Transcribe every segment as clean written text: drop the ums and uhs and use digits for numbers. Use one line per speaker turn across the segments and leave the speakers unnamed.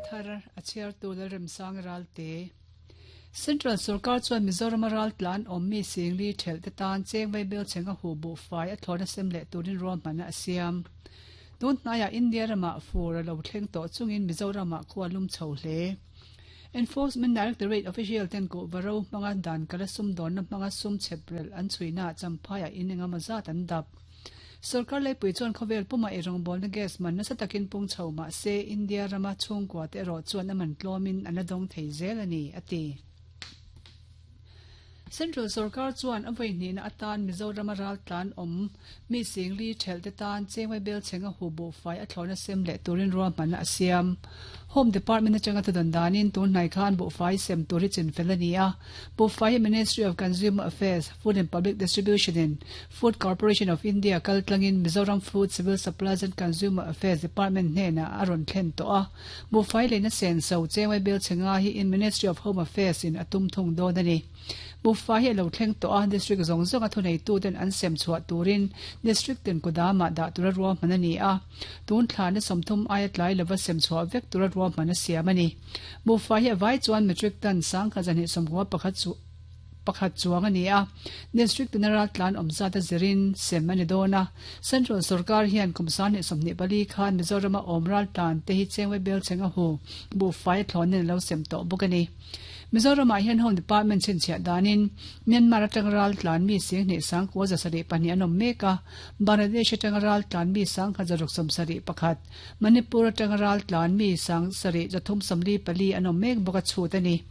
thar a chhiartu Lalremsang Ralte. Central sorkar chuan Mizorama ral tlan awm mi Singli thelh te tan cheng vaibel cheng a huh buhfai a thlawna sem leh turin ruahmanna a siam. Tun hnaiah India ramah fur a lo thleng tawh chungin Mizoramah khua lum chho hle. Enforcement Directorate official ten kuhva ro hmanga dan kala sumdawnna hmanga sum chheprelh an chhuihnaah Champhaiah in engemaw zat an dap. Sorkar leipui chuan khawvel pumah ei rawngbawlna gas man nasa takin pung chho mah se India rama chhungkua te erawh chuan a man tlawmin an la dawng thei zel a ni, a ti. Central sorkar chuan a vawi hnihna atan Mizorama raltlan awm mi singli thelh te tan Chengwai Belchhenga hu buhfai a thlawhna sem leh turin ruahmanna a siam. Home Department atanga thudawn danin tun hnai khan buhfai sem tur hi chinfel a ni a. Buhfai hi Ministry of Consumer Affairs, Food and Public Distribution in Food Corporation of India kaltlangin Mizoram Food, Civil Supplies and Consumer Affairs Department hnenah a rawn thlen tawh a. Buhfai leina senso Chengwai Belchhenga hi in Ministry of Home Affairs in a tum thung dawn a ni. Buhfai hi a lo thleng tawh a, District zawng zawnga thuneituten an sem chhuah turin District tin kudamah dah tura ruahman a ni a. Tun thlana 30 aia tlai lova sem chhuah vek tura ruahman a siam a ni. Buhfai hi a vai chuan metric ton 10,291 chu pakhat chuang a ni a. District tina raltlan awm zat a zirin sem a ni dawn a. Central sorkar hian kum 2024 khan Mizorama awm raltlan te hi Chengwei Belcheng a hu buhfai a thlawnin a lo sem tawh bawk a ni. Mizoramah hian Home Department chhinchhiah danin Myanmar atanga raltlan mi 10 972 an awm mek a, Bangladesh atanga raltlan mi 1671, Manipur atanga raltlan mi 7334 an awm mek bawk a chhut a ni.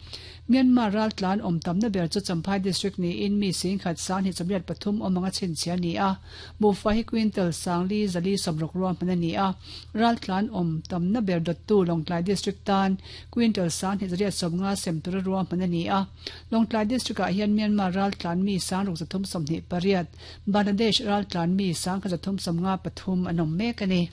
Myanmar raltlan awm tamna ber chu Champhai District niin mi 10 123 awm anga chhinchhiah a ni a, Buhfai hi quintal 4460 ruahman a ni a, raltlan awm tamna ber dawttu Lawngtlai District tan Quintal 2250 sem tura ruahman a ni a. Lawngtlai District-ah hian Myanmar raltlan mi 6328, Bangladesh raltlan mi 1353 an awm mek a ni.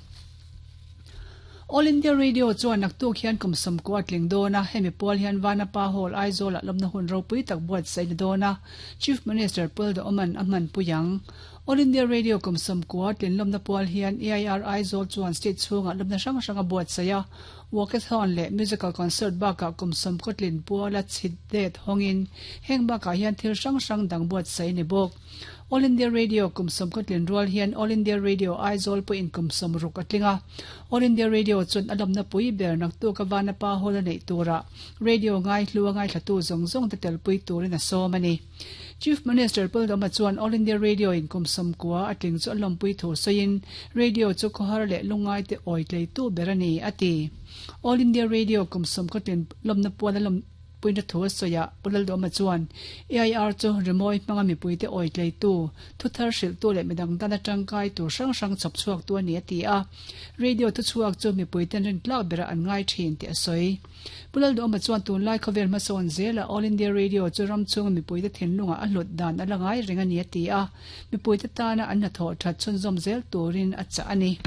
All India Radio chuan naktuk hian kum 90 a tling dawn a, hemi pual hian Vanapa Hall, Aizawlah lawmna hun ropui tak buatsaih a ni dawn a, Chief Minister Puldaoman a hmanpui ang. All India Radio kum 90 tlin lawmna pual hian AIR Aizawl chuan state chhungah lawmna hrang hrang a buatsaih a, Walkathon leh musical concert bakah kum 90 tlin puala chhit det hawngin heng bakah hian thil hrang hrang dang buatsaih a ni bawk. All India Radio kum 90 tlin rual hian All India Radio Aizawl pawhin kum 60 a tling a. All India Radio chuan a lawmna pui ber naktuk a Vanapa Hall a neih turah radio ngaihlu a ngaithlatu zawng zawng te telpui turin a sawm a ni. Chief Minister Paldama chuan All India Radio in kum 90 a tling chu a lawmpui thu sawiin radio chu khawhar leh lungngai te awi tleitu ber a ni, a ti. All India Radio kum 90 tlin lawmna puan a lawmpuina thu a sawi ah Pu Laldawma chuan AIR chu rimawi hmanga mipuite awi tleitu, thuthar hrilhtu leh midang tana tangkai tur hrang hrang chhawp chhuaktu a ni, a ti a. Radio thuchhuak chu mipuiten rintlak berah an ngai thin tih a sawi. Pu Lalduhawma chuan tunlai khawvel hmasawn zela All India Radio chu ram chhunga mipuite thinlungah a hlut dan a la ngai reng a ni a ti a, mipuite tana an hnathawh that chhunzawm zel turin a chah a ni.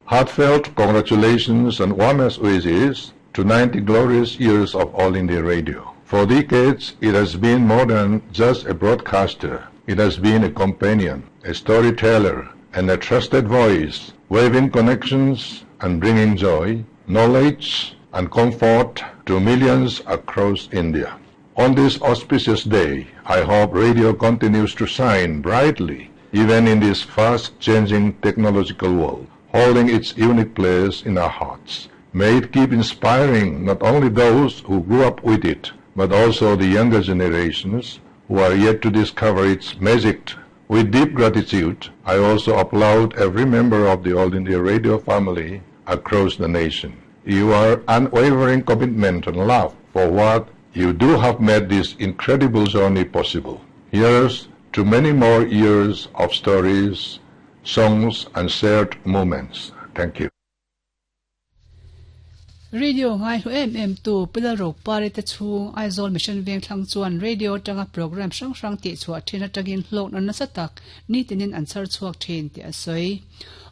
Heartfelt congratulations and warmest wishes to 90 glorious years of All India Radio. For decades, it has been more than just a broadcaster. It has been a companion, a storyteller, and a trusted voice, weaving connections and bringing joy, knowledge, and comfort to millions across India. On this auspicious day, I hope radio continues to shine brightly, even in this fast-changing technological world, holding its unique place in our hearts. May it keep inspiring not only those who grew up with it, but also the younger generations who are yet to discover its magic. With deep gratitude, I also applaud every member of the All India Radio family across the nation. Your unwavering commitment and love for what you do have made this incredible journey possible. Here's to many more years of stories, songs, and shared moments. Thank you.
Radio ngaihlu em em tu Pi Lalropari te chhung Aizawl Mission Vengthlang chuan radio atanga programme hrang hrang tihchhuah thin atangin hlawkna nasa tak nitinin an chhar chhuak thin tih a sawi.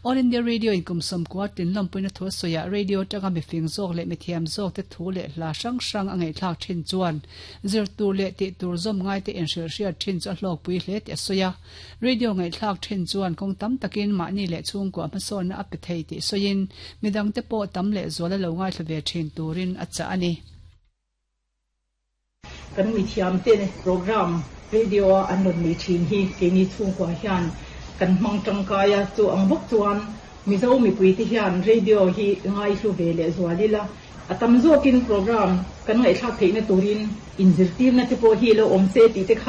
All India Radio in kum 90 tlin lawmpuina thu a sawiah radio atanga mifing zawk leh mithiam zawk te thu leh hla hrang hrang a ngaihthlak thin chuan zir tur leh tih tur zawm ngai te inhrilhhriat thin chu a hlawkpui hle tih a sawi a. Radio ngaihthlak thin chuan kawng tam takin mahni leh chhungkua hmasawnna a pe thei tih sawiin midangte pawh tam leh zual a lo ngaithla ve thin turin a chah a ni.
Kan mithiamte program radio a an rawn nei thin hi keini chhungkua hian kan hmang tangkai a, chu ang bawk chuan Mizo mipuite hian radio hi ngaihlu ve leh zual ila, a tam zawkin program kan ngaihthlak theihna turin inzirtirna te pawh hi lo awm se tih te kha.